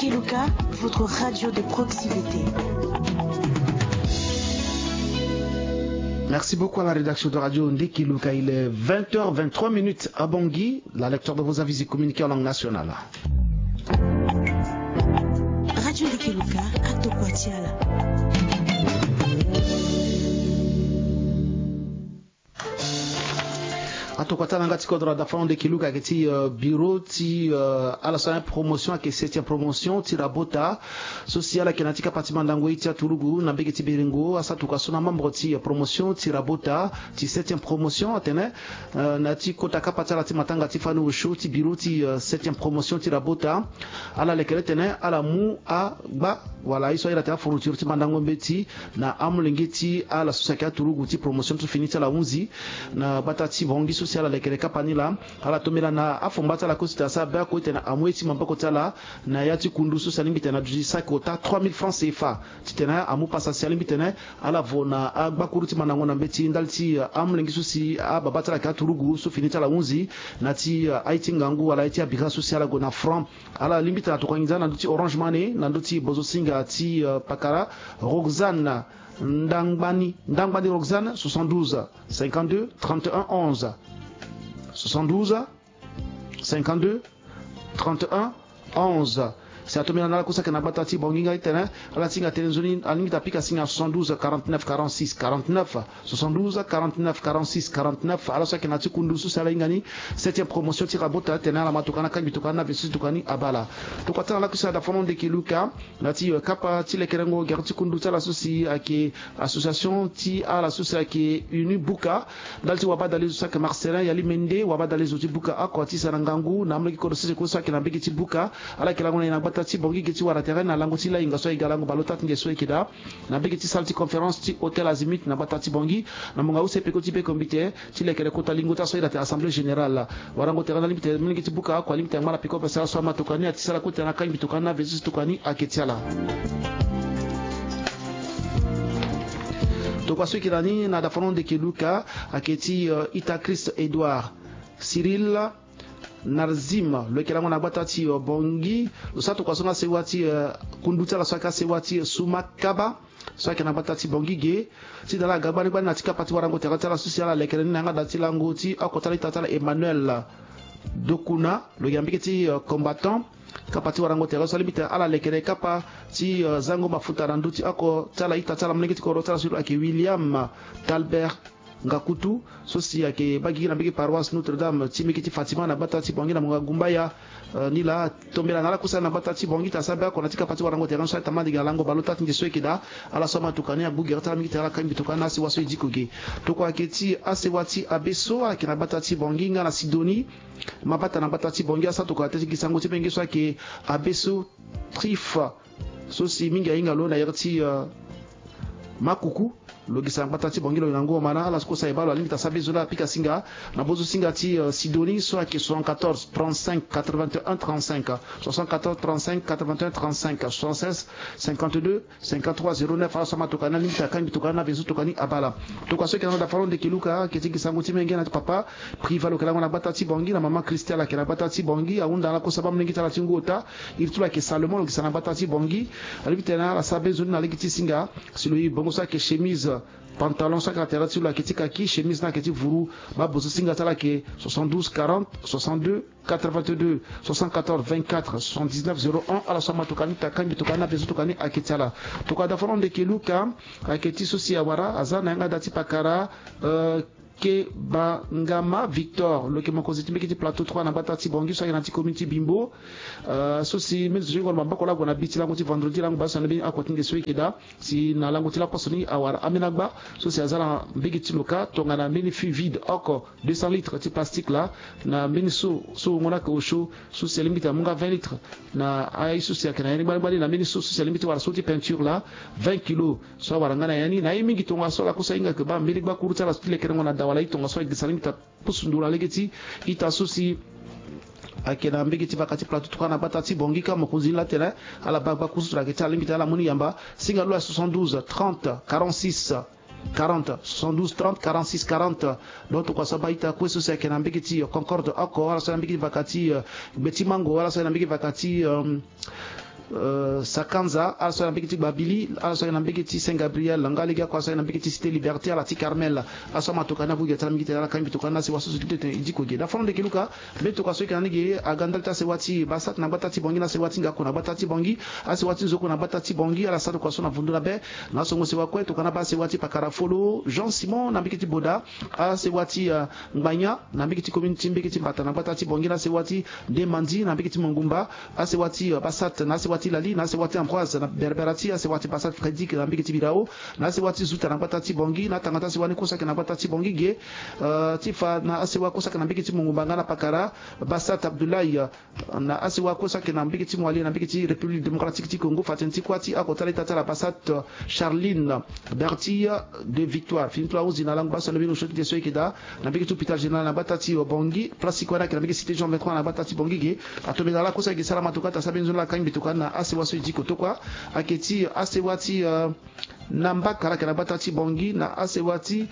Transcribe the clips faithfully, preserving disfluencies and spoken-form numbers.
Keluka, votre radio de proximité. Merci beaucoup à la rédaction de Radio Ndekeluka. Il est vingt heures vingt-trois minutes à Bangui. La lecture de vos avis et communiqués en langue nationale. Radio Ndekeluka, atokwa ti ala. Atokua ti ala nga ti kodro, ada fana nde kiluka ayeke ti, euh, bureau ti, euh, ala so ayeke promotion, ayeke septième promotion ti Rabota. So si ala yeke na ya ti kapa ti mandango ye ti aturugu na mbege ti Berengo, asara tokua so na membre ti, euh, promotion ti Rabota ti septième promotion atene, euh, na ya ti kota kapa ti ala ti matanga ti fani osio ti bureau ti, euh, septième promotion ti Rabota. Ala leke le tene ala mu agba wala aye so ayeke daa ti afourniture ti mandango mbeti na amolenge ti ala so si ayeke aturugu ti promotion ti fini ti ala hunzi na gbata ti Bangui so si ala lekere kapa ni laa. Ala tombela na afomba ti ala kue so tene asara be oko ti tene amu ye ti maboko ti ala na ya ti kundu so si alingbi tene aduti saki ota trois mille francs C F A ti tene amu pasa si alingbi tene ala vo na agbakuru ti mandango na mbeti ndali ti, eh, amolenge so si ababa ti ala ayeke aturugu so fini ti ala hunzi na ya ti, eh, aye ti ngangu wala aye ti abira so si ala gue na franc. Ala lingbi tene atokua nginza na ndö ti Orange Money na ndö ti bozo singa ti, euh, pakara Roxane Ndangbani, Ndangbani Roxane, soixante-douze cinquante-deux trente et un onze. Soixante-douze cinquante-deux trente et un onze. Si atombela na ala kue so ayeke na gbata ti Bangui nga ti tene ala ti hinga tënë nzoni, alingbi tene apika singa soixante-douze quarante-neuf quarante-six quarante-neuf. Soixante-douze quarante-neuf quarante-six quarante-neuf. Ala so ayeke na ya ti kundu so si ala hinga ni septième promotion ti Rabota tene ala ma tokua ni, akangbi tokua ni na vesi tokua ni abaa ala. Tokua ti ala lakue si ada fana nde kiluka na ya ti, euh, kapa ti lekerengo gere ti kundu ti ala so si ayeke association ti ala so si ayeke Uni Buka. Ndali ti wabadale zo so ayeke Marcelin Yali Mende, wabadale zo ti buka oko ti sa na ngangu na amolenge kodro sese kue so ayeke na mbege ti buka. Ala yeke lango na e na gbata ti Bangui ge ti wara tere na lango ti lahinga so ayeke ga lango baleota ti nze so ayeke daa na mbege ti salle ti conférence ti Hôtel Azimut na gbata ti Bangui, na mungo use peko ti be kombite ti lekere kota lingo ti ala so ayeke daa ti Assemblée Générale. Warango tere na lingbi tene molenge ti buka oko alingbi tene angba na peko pese ala so ama tokua ni, ati sara kue tene akangbi tokua ni na vesi tokua ni ayeke ti ala. Tokua so ayeke na ni na dafano ndeke luka ayeke ti, euh, ita Christ Edouard Cyril Narzim, lo yeke lango na gbata ti, euh, Bangui. Lo sara tokua so nga sewa ti, euh, kundu ti ala so ayeke asewa ti, euh, Suma Kaba so ayeke na gbata ti Bangui ge. Ti da ala ga gbani gbani na ti kapa ti warango tere ti ala so si ala lekere ni na yanga da ti lango ti oko ti ala ita ti ala Emmanuel Dokuna, lo yeke na mbege ti, euh, combattant. Kapa ti warango tere so alingbi tene ala lekere kapa ti, euh, zango mafuta na ndö ti oko ti ala ita ti ala molenge ti kodro ti ala so lo ayeke William Talbert Ngakutu so si ayeke baa gigi na mbege paroisse Notre-Dame ti mbege ti Fatima na gbata ti Bangui na mungo Gumbaya. Euh, ni laa tombela na ala kue so ayeke na gbata ti Bangui tene asara be oko na ti kapa ti warango tere so ayeke tambala ndege na lango baleota ti nze so ayeke daa. Ala so ama tokua ni agbu gere ti ala mingi tene ala kangbi tokua ni na asewa so e diko ge. Tokua ayeke ti asewa ti abe so ayeke na gbata ti Bangui nga na Sidonie. Mabata na gbata ti Bangui asara tokua tene ti gi sango ti menge so ayeke abe so Trife so si mingi ahinga lo na yere ti, euh, Makuku. Lo gi sa na gbata ti Bangui lo yeke na ngu omana. Ala so kue so aye baa lo alingbi tene asara be zo laa apika singa na bozo singa ti, euh, Sidonie so ayeke soixante-quatorze trente-cinq quatre-vingt-un trente-cinq. Soixante-quatorze trente-cinq quatre-vingt-un trente-cinq. Soixante-seize cinquante-deux cinquante-trois zéro neuf. Ala so ama tokua ni alingbi tene akangbi tokua ni na vezo tokua ni abaa ala. Tokua so ayeke na lo dafalo ndeke luka ayeke ti gi sango ti menge na ti papa Priva lo yeke lango na gbata ti Bangui na mama Christian ayeke na gbata ti Bangui. Ahunda na ala kue so abaa molenge ti ala ti ngu ota. Iri ti lo ayeke Salomon lo gi sa na gbata ti Bangui. Alingbi tene ala sara be zo ni na lege ti singa si lo ye bongo so ayeke chemise pantalon so ayeke na tere ti lo ayeke ti kaki, chemise ni ayeke ti vuru. Baa bozo singa ti ala ayeke soixante-douze quarante soixante-deux quatre-vingt-deux soixante-quatorze vingt-quatre soixante-dix-neuf zéro un. Ala so ama tokua ni tene akangbi tokua ni na vezo tokua ni ayeke ti ala. Tokua dafano ndeke luka ayeke ti so si awara aza na yanga da ti pakara, euh, Kebangama Victor lo yeke mokonzi ti mbege ti plateau trois na gbata ti Bangui so ayeke na ti commune ti Bimbo. Euh, so si mbeni zo ti ngoro maboko laa ague na bi ti lango ti vendredi lango baleso na mbeni oko ti nde so ayeke daa. Si na lango ti laposo ni awara ambeni agba so si aza na mbege ti lo kâ tongana mbeni fût vide oko deux cents litres ti plastique laa na mbeni so so wungo ni ayeke osio so si alingbi tene amu nga vingt litres na aye so si ayeke na ya ni gbani gbani na mbeni so so si alingbi ti wara so ti peinture laa vingt kilos so awara nga na ya ni na aye mingi tongaso ala kue so ahinga yeke baa mbeni gbakuru ti ala so ti lekerengo na da wala aye tongaso ayeke gi sa alingbi tene apusu nduru na lege ti ita so si ayeke na mbege ti vaka ti plateau tokua na gbata ti Bangui kâ mokonzi ni laa tene ala baa gbakuru so tene ayeke ti ala alingbi tene ala mu ni yamba. Singa lo ayeke soixante-douze trente quarante-six quarante, soixante-douze trente quarante-six quarante. Donc tokua so abaa ita kue so si ayeke na mbege ti, euh, Concorde oko, ala so ayeke na mbege ti vaka ti, euh, Gbe ti Mango, ala so ayeke na mbege vaka ti, euh, Euh, Sakanza, ala so ayeke na mbege ti Gbabili, ala so ayeke na mbege ti Saint Gabriel, nga lege oko ala so ayeke na mbege ti Cité Liberté, ala ti Carmel. Ala so amatoka ni ague gi atara mingi tene ala kangbi tokua ni na sewa so so ti tene e diko ge. Da fano ndeke luka, mbeni tokua so e yeke na ni ge aga ndali ti asewa ti Basat na gbata ti Bongi, na asewa ti Ngako na gbata ti Bongi, asewa ti Nzoko na gbata ti Bongi, ala sara tokua so na vundu na be. Na asongo sewa kue tokua ni abaa asewa ti Pakara Folo, Jean Simon na mbege ti Boda, asewa ti, euh, Ngbanya na mbege ti commune ti mbege ti Mbata na gbata ti Bongi, na asewa ti Ndemandi na mbege ti Mongumba, asewa ti, euh, Basat na asewa ti Lali, na asewa ti Ambroise na Berberati, asewa ti Basat Frederic na mbege ti Birao, na asewa ti Zuta na gbata ti Bongi, na tanga ti asewa ni kue so ayeke na gbata ti Bongi ge, euh, ti fa na asewa kue so ayeke na mbege ti Mongumba nga na Pakara, Basat Abdoulaye, euh, na asewa kue so ayeke na mbege ti Moali na mbege ti République Démocratique ti Congo, fa tënë ti kuâ ti akota leta ti ala Basat, euh, Charline Bertille de Victoire. Fini ti lo ahunzi na lango baa so alobi ni osio ti de so e yeke daa na mbege ti hôpital général na gbata ti, euh, Bongi. Place ti kuâ ni ayeke na mbege cité Jean vingt-trois na gbata ti Bongi ge. Atombela ala kue so ayeke sara matuka ti asara mbeni nzoni ala kangbi tokua ni na asewa so e diko tokua. Ayeke ti asewa ti, euh, na Mbaka ala yeke na gbata ti Bongi, na asewa ti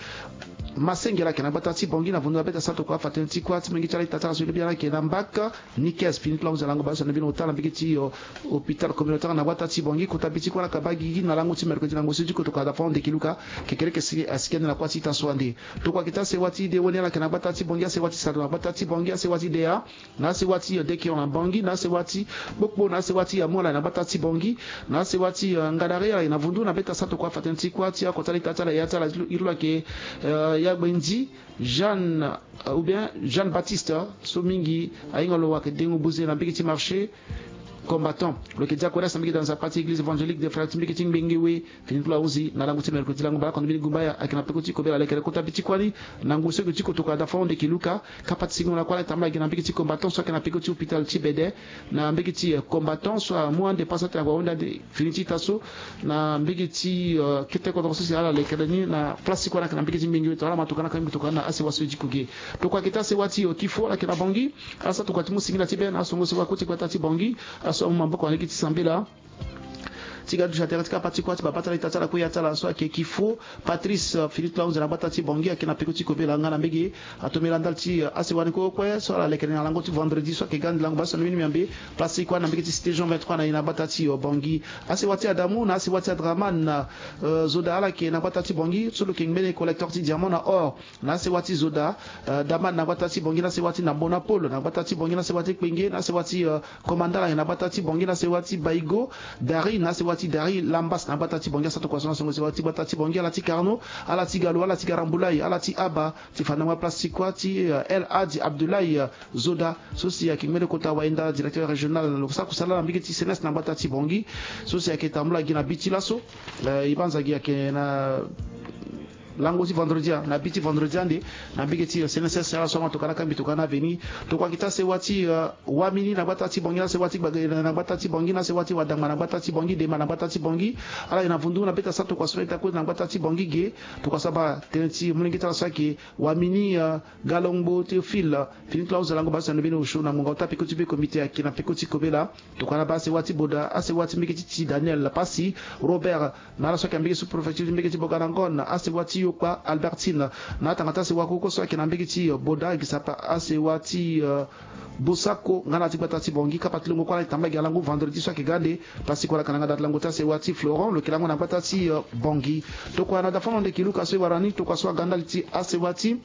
Masenge ala yeke na gbata ti Bongi, na vundu na be ti asara tokua afa tënë ti kuâ ti molenge ti ala ita ti ala so e lobi ala ayeke na Mbaka. Nikes, fini ti lo ahunzi na lango baa so na bino ota na mbege ti, euh, hôpital communautaire na gbata ti Bongi. Kota bi ti kuâ ni ayeke baa gigi na lango ti mercredi na ngu so e diko tokua. Da fano ndeke luka, kekereke si asiki ande na kuâ ti ita so ande. Tokua ayeke ti asewa ti Dewoni ala yeke na gbata ti Bongi, asewa ti Sado na gbata ti Bongi, asewa ti Dea, na asewa ti, euh, Dekeon na Bongi, na asewa ti Kpokpo, na asewa ti Yamu ala yeke na gbata ti Bongi, na asewa ti, euh, Ngadare ala yeke na vundu na be ti asara tokua afa tënë ti kuâ ti akota leta ti ala, ya ti ala, iri lo ayeke, euh, ya Gbendi Jeanne, euh, ou bien Jeanne Baptiste, euh, so mingi ahinga lo wara ayeke dengo buze na mbege ti marché Combattant. Lo yeke diaconesse na mbege ti Nzapa ti église évangélique des Frères ti mbege ti Ngbenge We. Fini ti lo ahunzi na lango ti mercredi lango baa oko na mbeni gumba ya ayeke na peko ti kobela lekere kota bi ti kuâ ni na ngu so e yeke ti kotokua. Da fano ndeke luka, kapa ti singo na kuâ la e tambula gi na mbege ti Combattant so ayeke na peko ti hôpital ti Bede, na mbege ti, euh, Combattant so amu ande pasa ti na kua wende ande fini ti ita so na mbege ti, euh, kete kodro so si ala lekere ni na place ti kuâ ni ayeke na mbege ti Ngbenge We. Tongana ala ma tokua ni akangbi tokua ni na asewa so e diko ge. Tokua ayeke ti asewa ti, euh, Kifo ala yeke na Bongi. Ala sara tokua ti mu singila ti be na asongo sewa kue ti gbata ti Bongi. Ala so amu maboko na lege ti sambela ti ga duti na tere ti kapa ti kuâ ti babâ ti ala, ita ti ala kue, ya ti ala so ayeke Kifo Patrice, euh, fini ti lo ahunzi na gbata ti Bongi, ayeke na peko ti kobela nga na mbege. Atombela ndali ti, euh, asewa ni kue kue so ala lekere na lango ti vendredi so ayeke ga ande lango baa so na mbeni miambe. Place ti kuâ ni na mbege ti cité Jean vingt-trois na ye na gbata ti, euh, Bongi. Asewa ti Adamu na asewa ti Adraman, euh, Zoda ala yeke na gbata ti Bongi so lo yeke ngbene collecteur ti diamant na or. Na asewa ti Zoda, euh, Daman na gbata ti Bongi, na asewa ti Nambona Paul na gbata ti Bongi, na asewa ti Kpenge, na asewa ti, euh, Komanda na gbata ti Bongi, na asewa ti Baigo Dari, na asewa ti Dari Lambas na gbata ti Bongi. Asara tokua so na songo sewa ti gbata ti Bongi, ala ti Karno, ala ti Galo, ala ti Garambulai, ala ti Aba, ti fa na nga place ti kuâ ti, euh, El Hadj Abdoulaye, euh, Zoda so si ayeke ngbene kota wayenda directeur régional lo sara kusala na mbege ti C N S na gbata ti Bongi, so si ayeke tambula gi na bi ti laso, euh, e banza gi ayeke na lango ti vendredi a, na bi ti vendredi ande, na mbege ti, euh, C N S S, ala so ama tokua ni akangbi tokua ni na veni. Tokua ayeke ti asewa ti, euh, Wamini na gbata ti Bongi, na asewa ti Gbagele na gbata ti Bongi, na asewa ti Wadangba na gbata ti Bongi, Dema na gbata ti Bongi. Ala ye na vundu na be ti asara tokua so na ita kue na gbata ti Bongi ge. Tokua so abaa tënë ti molenge ti ala so ayeke Wamini, euh, Galongbo Théophile, euh, fini ti lo ahunzi na lango baa so na mbeni osio na ngonga ota peko ti be comité ayeke na peko ti kobela. Tokua ni abaa asewa ti Boda, asewa ti mbege ti, ti Daniel Pasi, Robert, na ala so ayeke na mbege sous-préfecture ti mbege ti Boganangon, asewa ti Yokpa Albertine, na atanga ti asewa koko so ayeke na mbege ti, euh, Boda, gi sapa asewa ti, euh, Bosako, nga na ti gbata ti Bongi. Kapa ti longo kue ala e tambula gi na lango vendredi so ayeke ga ande. Place ti kue ala yeke na nga daa ti lango ti asewa ti Florent, lo yeke lango na gbata ti, euh, Bongi. Tokua na dafa na ndeke luka so e wara ni, tokua so aga ndali ti asewa ti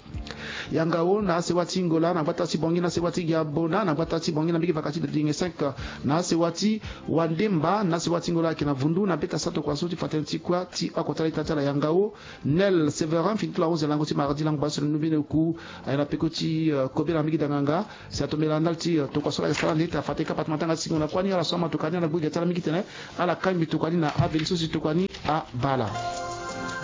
Yangao na asewa ti Ngola na gbata ti Bongi, na asewa ti Giabona na gbata ti Bongi, na mbege vaka ti Dodenge cinq na asewa ti Wandemba na asewa ti Ngola ayeke na vundu na be ti asara tokua so ti fa tënë ti kuâ ti akota leta ti ala Yangao. Nel Séverin, fini ti lo ahunzi na lango ti mardi lango baa so na ni mbeni oku, aye na peko ti, euh, kobela na mbege danganga. Si atombela ndali ti, euh, tokua so ala yeke sara ande ti afa tënë kapa ti matanga ti singo na kuâ ni, ala so ama tokua ni ala gbu gi ti ala mingi tene ala kangbi tokua ni na aveni so si tokua ni abaa ala.